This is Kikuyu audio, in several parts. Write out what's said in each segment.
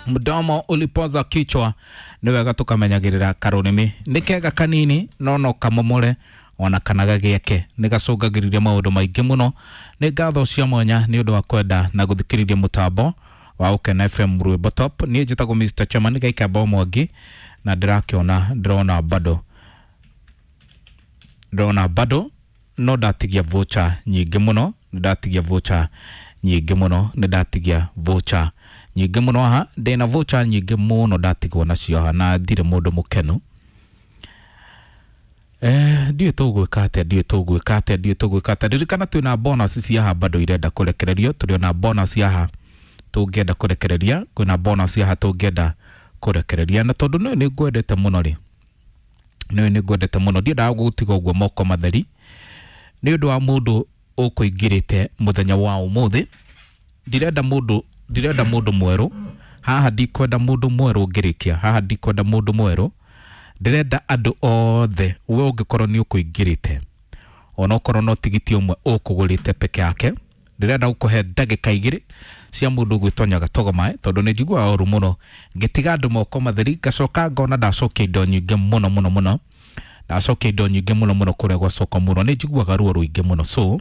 Mdomo ulipoza kichwa. Nĩ wega tũkamenyagĩrĩra karũrĩmĩ nĩ kega kanini no no kamomore ona kana gagĩake nĩ gacũngagĩrĩria maũndũ maingĩ mũno. Nĩ ngatho cia mwanya nĩ ũndũ wa kwenda na gũthikĩrĩria mũtambo wa Ũkena FM Rwĩmbo Top. Niĩ njĩtagwo Mr. Chairman Gaikamba Mwangi na ndĩrakĩona ndĩrona bado, ndĩrona bado no ndatigia voucher nyingĩ mũno, nĩ ndatigia voucher nyingĩ mũno, nĩ ndatigia voucher nyingĩ mũno haha. Ndĩna voucher nyingĩ mũno ndatigwo nacio haha na ndirĩ mũndũ mũkenu. Ndiũĩ tũgwĩka atĩa, ndiũĩ tũgwĩka atĩa, ndiũĩ tũgwĩka atĩa. Ririkana twĩna bonus cia haha bado irenda kũrekererio, tũrĩ ona bonus haha tũngĩenda kũrekereria, kwĩna bonus haha tũngĩenda kũrekereria. Na tondũ nĩũĩ nĩ ngwendete mũno rĩ, nĩũĩ nĩ ngwendete mũno, ndiendaga gũgũtiga ũguo moko matheri nĩ ũndũ wa mũndũ ũkũingĩrĩte mũthenya wa ũmũthĩ. Ndirenda mũndũ, ndirenda mũndũ mwerũ haha, ndikwenda mũndũ mwerũ ngĩrĩkia haha, ndikwenda mũndũ mwerũ. Ndĩrenda andũ othe, we ũngĩkorwo nĩ ũkũingĩrĩte onokorwo no tigiti ũmwe ũkũgũrĩte peke yake, ndĩrenda gũkũhe ndagĩka igĩrĩ cia mũndũ ũgwĩtwo Nyagatogo Mae, tondũ nĩ njiguaga ũru mũno ngĩtiga andũ moko matheri, ngacoka ngona ndacokia indo nyingĩ mũno mũno mũno, ndacokia indo nyingĩ mũno mũno kũrĩa gwa soko mũno, nĩ njiguaga ruo rũingĩ mũno. So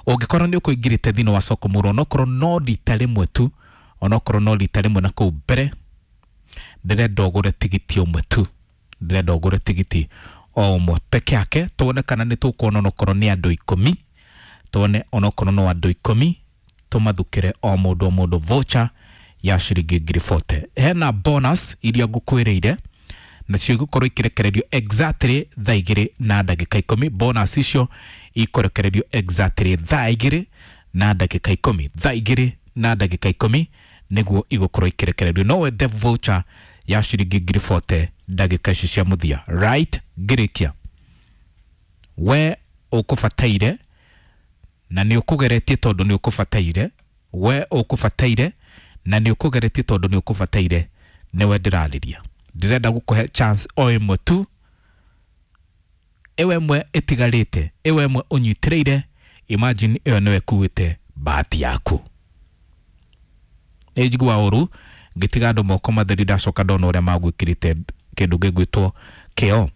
ũngĩkorwo nĩ ũkũingĩrĩte thĩinĩ wa soko mũno, onokorwo no rita rĩmwe tu, onokorwo no rita rĩmwe na kũu mbere, ndĩrenda ũgũre tigiti ũmwe tu, ndĩrenda ũgũre tigiti o ũmwe peke yake, tuone kana nĩ tũkuona onokorwo nĩ andũ ikũmi, tuone onokorwo no andũ ikũmi, tũmathukĩre o mũndũ o mũndũ voucher ya ciringi ngiri 40. Hena bonus iria ngũkwĩrĩire nacio igũkorwo ikĩrekererio exactly thaa igĩrĩ na ndagĩka ikũmi. Bonus icio ikũrekererio exactly thaa igĩrĩ na ndagĩka ikũmi, thaa igĩrĩ na ndagĩka ikũmi nĩguo igũkorwo ikĩrekererio. No wende voucher ya ciringi ngiri 40 ndagĩka ici cia mũthia, right? Ngĩrĩkia, we ũkũbataire na nĩ ũkũgeretie tondũ nĩ ũkũbataire, we ũkũbataire na nĩ ũkũgeretie tondũ nĩ ũkũbataire, nĩwe ndĩrarĩria. Ndĩrenda gũkũhe chance o ĩmwe tu, ĩwe ĩmwe ĩtigarĩte, ĩwe ĩmwe ũnyitĩrĩire. Imagine ĩyo nĩwe ĩkuĩte bahati yaku. Nĩ njiguaga ũru ngĩtiga andũ moko matheri, ndacoka ndona ũrĩa magwĩkĩrĩte kĩndũ gĩgwĩtwo kĩo.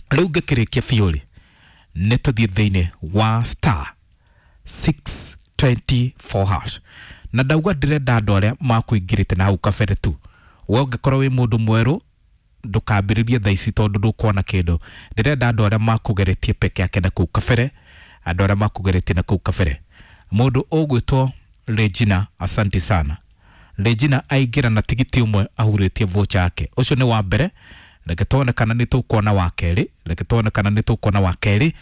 Rĩu ngĩkĩrĩkia biũ rĩ, nĩ tũthiĩ thĩinĩ wa star 624 hash, na ndauga ndĩrenda andũ arĩa makũingĩrĩte na hau kabere tu. We ũngĩkorwo wĩ mũndũ mwerũ ndũkambĩrĩrie thaa ici tondũ ndũkuona kĩndũ. Ndĩrenda andũ arĩa makũgeretie peke yake na kũu kabere, andũ arĩa makũgeretie na kũu kabere. Mũndũ ũgwĩtwo Regina, asante sana Regina, aingĩra na tigiti ũmwe ahurĩtie voucher yake. Ũcio nĩ wa mbere. Reke tuone kana nĩ tũkuona wa kerĩ, reke tuone kana nĩ tũkuona wa kerĩ,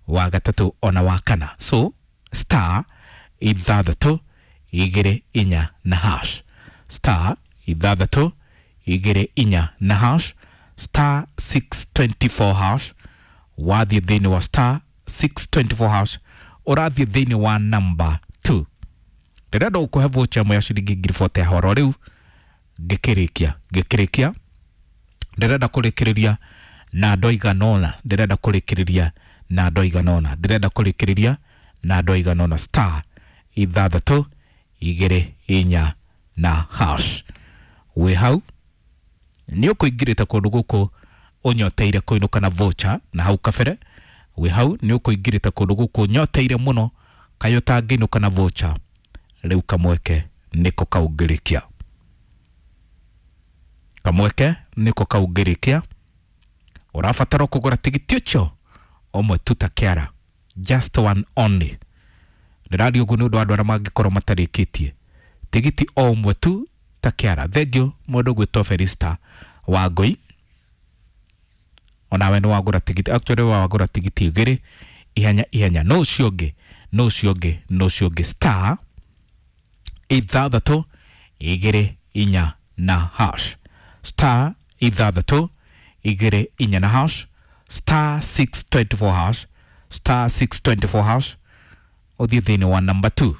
wa gatatũ ona wa kana. So star ithathatũ igĩrĩ inya na hash, star ithathatũ igĩrĩ inya na hash, star 624 hash. Wathiĩ thĩinĩ wa star 624 hash, ũrathiĩ thĩinĩ wa number 2. Ndĩrenda gũkũhe voucher ĩmwe ya ciringi ngiri 40 ya horo rĩu ngĩkĩrĩkia, ngĩkĩrĩkia ndĩrenda kũrĩkĩrĩria na andũ aigana ũna, ndĩrenda kũrĩkĩrĩria na andũ aigana ũna, ndĩrenda kũrĩkĩrĩria na andũ aigana ũna. Star ithathatũ igĩrĩ inya na hash. Wĩ hau nĩ ũkũingĩrĩte kũndũ gũkũ ũnyoteire kũinũka na voucher na hau kabere. Wĩ hau nĩ ũkũingĩrĩte kũndũ gũkũ ũnyoteire mũno kaĩ ũtangĩinũka na voucher, rĩu kamweke nĩko kaungĩrĩkia, kamweke nĩko kaungĩrĩkia. Ũrabatara kũgũra tigiti ũcio ũmwe tu ta kĩara, just one only. Ndĩraria ũguo nĩ ũndũ wa andũ arĩa mangĩkorwo matarĩkĩtie tigiti o ũmwe tu ta kĩara. Thengiũ mũndũ ũgwĩtwo Felista Wangũi, onawe nĩ wagũra tigiti, actually wagũra tigiti igĩrĩ ihenya ihenya. No ũcio ũngĩ, no ũcio ũngĩ, no ũcio ũngĩ, star ithathatũ igĩrĩ inya na hash, star ithathatũ igĩrĩ inya na hash, star 624 hash, star 624 hash. Ũthiĩ thĩinĩ wa number 2.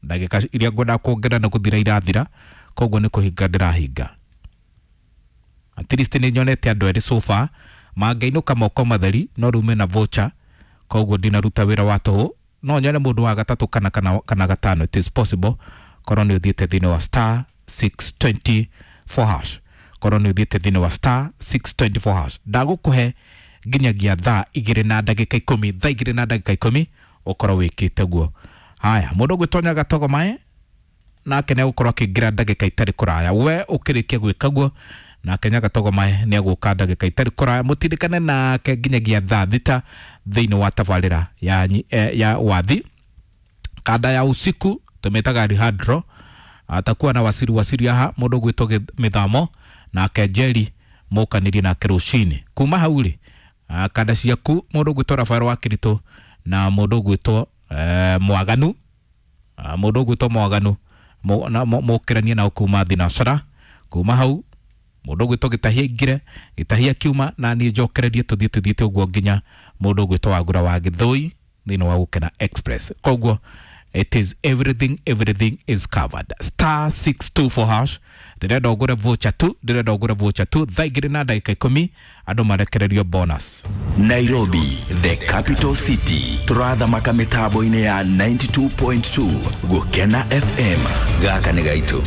Ndagĩka iria ngwenda kuongerera nĩ gũthira irathira, koguo nĩ kũhinga ndĩrahinga. At least nĩ nyonete andũ erĩ so far mangĩinũka moko matheri, no rĩu mena voucher, koguo ndinaruta wĩra wa tũhũ. No nyone mũndũ wa gatatũ kana gatano, it is possible. Korwo nĩ ũthiĩte thĩinĩ wa star 624 hash, korwo nĩ ũthiĩte thĩinĩ wa star 624 hash, ndagũkũhe nginyagia thaa 2:10, thaa 2:10 ũkorwo wĩkĩte guo. Haya, mũndũ ũgwĩtonya gatogo mae nake nĩ egũkorwo akĩingĩra ndagĩka itarĩ kũraya. We ũkĩrĩkia gwĩka guo, nake Nyagatogo mae nĩ egũka ndagĩka itarĩ kũraya, mũtindĩkane nake nginyagia thaa 6 thĩinĩ wa tabarĩra ya wathi kanda ya usiku tumetaga Alejandro atakuwa na wasiri wasiri aha mũndũ ũgwĩtwo mĩthamo nake Jerry mũkanirie nake rũcinĩ kuma hau rĩ, kanda ciaku mũndũ ũgwĩtwo Rafael wa Kiritũ na mũndũ ũgwĩtwo Mwaganu, mũndũ ũgwĩtwo Mwaganu mũkĩranie nao kuma thinacara. Kuma hau mũndũ ũgwĩtwo Gĩtahia ingire Gĩtahia kiuma na niĩ njokererie tũthiĩ tũthiĩte ũguo nginya mũndũ ũgwĩtwo Wagura wa Gĩthũi thĩinĩ wa Gũkena Express. Koguo it is everything, everything is covered. Star 624 hash, ndĩrenda ũgũre voucher tu, ndĩrenda ũgũre voucher tu thaa 2:10 andũ marekererio bonus. Nairobi, the capital city, turathamaka mitambo-inĩ ya 92.2 Gũkena FM. Gaka nĩ gaitũ.